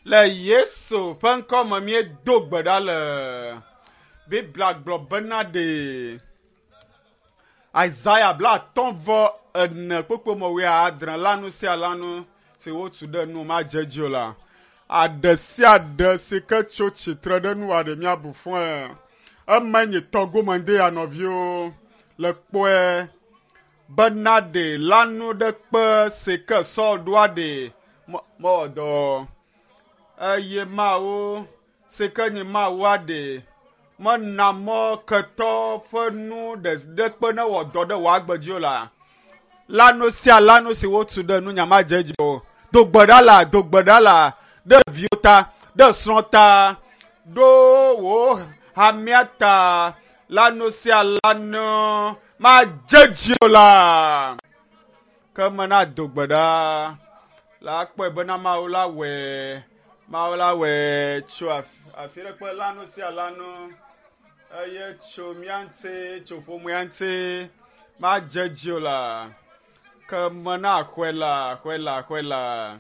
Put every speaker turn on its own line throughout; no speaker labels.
Le Yesu ƒe ŋkɔ me míedo gbe ɖa le. Biblia gblɔ bena ɖe Isaya 54 kpukpui me 70 la nu sia la nu si wotu ɖe nu madze edzi o la. Aɖe sia aɖe si ke tso tsitre ɖe nua ɖe míabu fɔe. Eme nye tɔgome ŋde ya nɔviwo le kpɔe bena ɖe lanu ɖe kpe si ke Saul ɖoa ɖe mewɔ dɔ eye Mawu si ke nye Mawua ɖe mena mɔ ketɔ ƒe nu ɖe ɖe kpe ne wɔ dɔ ɖe wò agbe dzi o la. Lanu sia lanu si wotu ɖe nunya madze edzi o. Do gbe ɖa la, do gbe ɖa la ɖe viwo ta, ɖe srɔ̃ ta, ɖo wò hamea ta. Lanu sia lanu madze edzi o la. Ke mena do gbe ɖa la kpɔe bena Mawu la wɔe, Mawu la wɔe tso afi ɖe kpe lanu sia lanu eye tso mía ŋuti, tso ƒomea ŋuti madze edzi o la. Ke mena xɔe la, xɔe la, xɔe la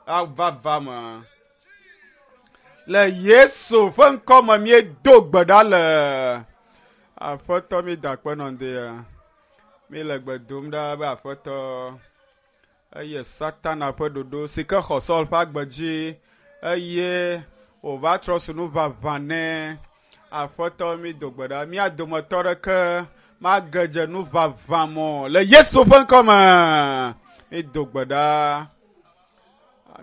ava va me. Le Yesu ƒe ŋkɔ me míedo gbe ɖa le. Aƒetɔ mi da akpe nɔ ŋdea. Mi le gbe dom ɖa be Aƒetɔ eye Satana ƒe ɖoɖo si ke xɔ Saul ƒe agbe dzi eye wòva trɔ su nu ʋaʋã nɛ. Aƒetɔ mi do gbe ɖa. Mía dometɔ ɖeke mage dze nu ʋaʋã mɔ le Yesu ƒe ŋkɔ me. Mi do gbe ɖa.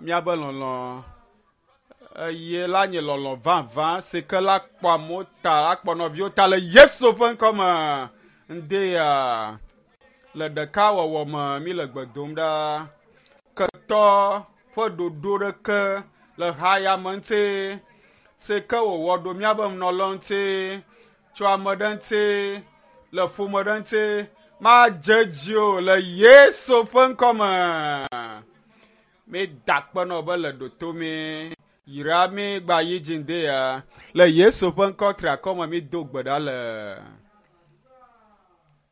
Míabe lɔlɔ̃ eye la nye lɔlɔ̃ vavã si ke la kpɔ amewo ta, akpɔ nɔviwo ta le Yesu ƒe ŋkɔ me. Ŋde ya le ɖekawɔwɔ me mi le gbe dom ɖa. Ketɔ ƒe ɖoɖo ɖeke le haya me ŋuti si ke wòwɔ ɖo míabe nɔlɔ ŋuti tso ame ɖe ŋuti le ƒome ɖe ŋuti madze edzi o le Yesu ƒe ŋkɔ me. Mi da akpe nɔ be le ɖoto mi yra mi gba yi dzi ŋde ya le Yesu ƒe ŋkɔ triakɔ me mi do gbe ɖa le.